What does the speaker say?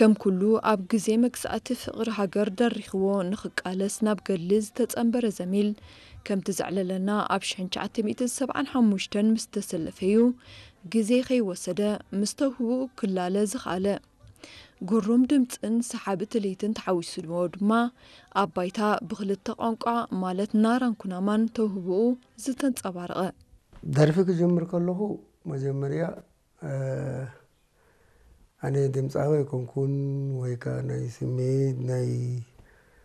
ከም ኩሉ ኣብ ግዜ መግዛእቲ ፍቕሪ ሃገር ደሪኽዎ ንኽቃለስ ናብ ገድሊ ዝተጸንበረ ዘሚል፣ ከምቲ ዘዕለለና ኣብ ሽሕን ትሽዓተ ሚእትን ሰብዓን ሓሙሽተን ምስ ተሰለፈ እዩ ግዜ ከይወሰደ ምስ ተውህቦኡ ክላለ ዝኸኣለ። ግሩም ድምጽን ሰሓቢ ትልሂትን ተሓዊስዎ ድማ ኣብ ባይታ ብኽልተ ቋንቋ ማለት ናራን ኩናማን ተውህቦኡ ዝተንጸባረቐ። ደርፊ ክጅምር ከለኹ መጀመርያ ኣነ ድምፃዊ ኣይኮንኩን ወይ ከዓ ናይ ስሜት ናይ